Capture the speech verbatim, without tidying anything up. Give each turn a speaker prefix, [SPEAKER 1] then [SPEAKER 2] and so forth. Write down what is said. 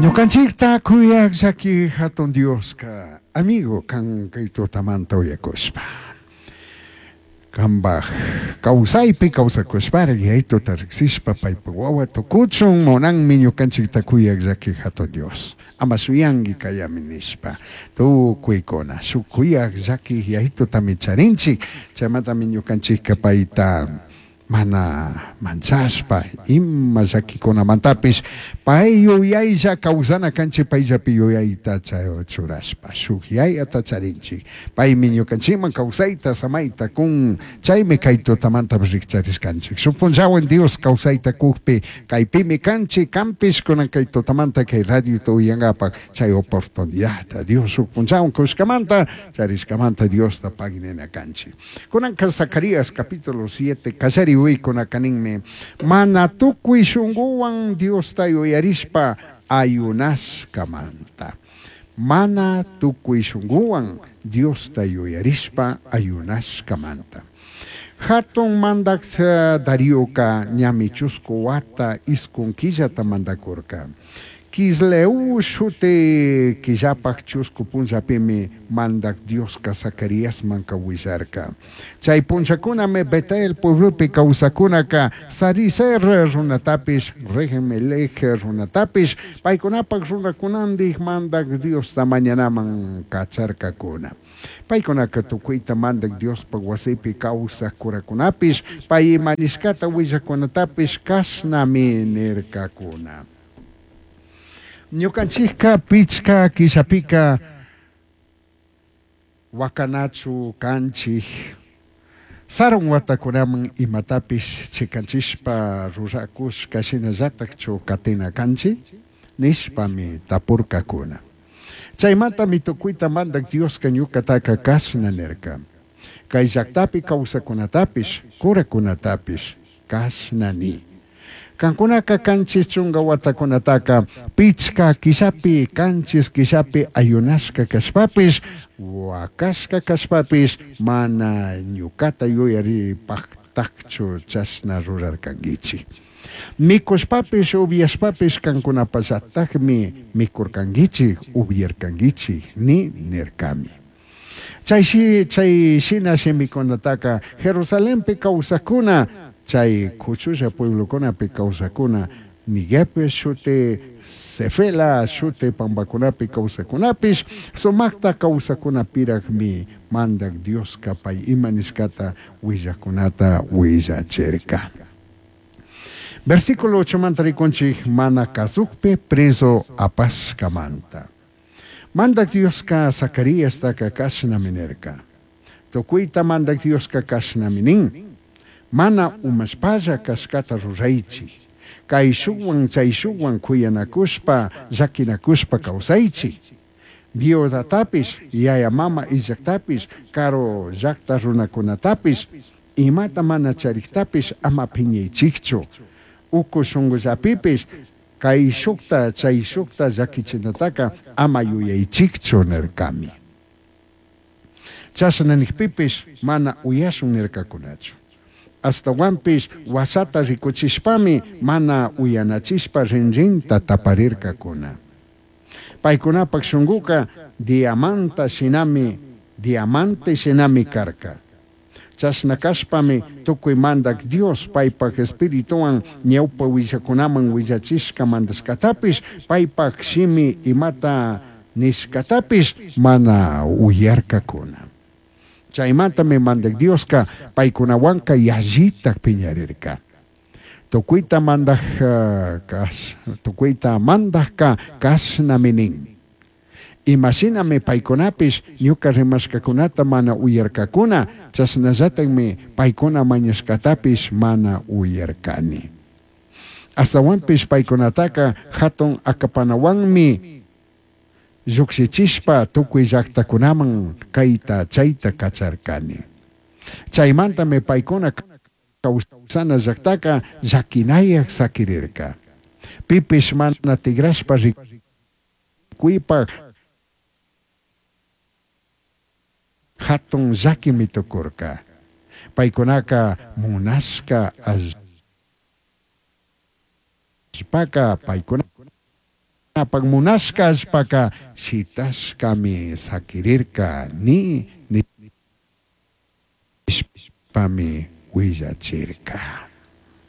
[SPEAKER 1] Ñukanchikta kuyaq llaki hatun Dioska amigo kan kay tutamanta uyakushpa kambaj kawsaypi kawsakushpara Yayituta riksishpa paypak wawa tukuchun munanmi ñukanchikta kuyaq llaki hatun Dios ama shuyanki kayami nishpa tukuykuna shuk kuyaq llaki Yayitutami charinchik chaymantami ñukanchikka payta mana manchashpa ima llakikunamantapis pay yuyaylla kawsana kanchik payllapi yuyayta churashpa shuk yayata charinchik paymi ñukanchikman kawsayta samayta kun chaymi kay tutamantapish rikcharishkanchik shuk punllawan Dios kawsayta kukpi kaypimi kanchik kanpish kunan kay tutamanta kay radiota uyankapak chay oportunidadta Dios shuk punllawan kushkamanta charishkamanta Diosta pagui nina kanchik kunanka Zacarías capítulo siete kallari uykunaka ninmi mana tukuy shunkuwan Diosta yuyarishpa ayunashkamanta mana tukuy shunkuwan Diosta yuyarishpa ayunashkamanta hatun mandak Darioka ñami chusku wata iskun killata mandakurka Kisleu shuti killapak chusku punllapimi mandak Dioska Zacariasmanka willarka chay punllakunami Betel pueblopi kawsakunaka Sariser runatapish Regemelec runatapish paykunapak runakunandik mandak Diosta mañanaman kacharkakuna paykunaka tukuyta mandak Diospak wasipi kawsak kurakunapish pay ima nishkata willakunatapish kashnami nirkakuna ñukanchikka pichka killapika wakanachu kanchik sarun watakunaman imatapish chikanchishpa rurakushka shinallatakchu katina kanchik nishpami tapurkakuna chaymantami tukuyta mandak Dioska ñukataka kashna nirka kay llaktapi kawsakunatapish kurakunatapish kashna ni kankunaka kanchis chunka watakunataka pichka killapi kanchis killapi ayunashka kashpapish wakashka kashpapish mana ñukata yuyaripaktakchu chashna rurarkankichik mikushpapish upiashpapish kankunapallatakmi mikurkankichik upiarkankichik ni nirkami chay chay shina shimikunataka Jerusalenpi kawsakuna chay kuchulla pueblokunapi kawsakuna Neguev shuti Sefela shuti pambakunapi kawsakunapish sumakta kawsakunapirakmi mandak Dioska pay ima nishkata willakunata willachirka. Versículo ochomanta rikunchik mana kasukpi preso apashkamanta. Mandak Dioska Zacariastaka kashnami nirka. Tukuyta mandak Dioska kashnami nin. Mana umashpalla kashkata ruraychik. Kayshuwan chayshuwan kuyanakushpa llakinakushpa kawsaychik. Viudatapish yaya mama illaktapish karu llakta runakunatapish imata mana chariktapish ama piñaychikchu. Uku shunkullapipish kayshukta chayshukta llakichinataka ama yuyaychikchu nirkami. Chashna nikpipish mana uyashun nirkakunachu. Ashtawanpish wasata rikuchishpami mana uyanachishpa rinrinta taparirkakuna. Paykunapak shunkuka diamanta shinami diamante shinami karka. Chashna kashpami tukuy mandak Dios paypak espirituwan ñawpa willakunaman willachishka mandashkatapish paypak shimi imata nishkatapish mana uyarkakuna. Chaymantami mandak Dioska paykunawanka yallitak piñarirka. Tukuyta mandak kash tukuyta mandakka kashnami nin. Imashinami paykunapish ñuka rimashkakunata mana uyarkakuna chashnallatakmi paykuna mañashkatapish mana uyarkani. Ashtawanpish paykunataka hatun akapanawanmi llukshichishpa tukuy llaktakunaman kayta chayta kacharkani. Chaymantami paykuna kawsana llaktaka llakinayak sakirirka. Pipish mana tigrashpa rikuypak hatun llakimi tukurka. Paykunaka munashka allpaka paykunapakmi Munashka allpaka shitashkami sakirirka ni nishpami willachirka.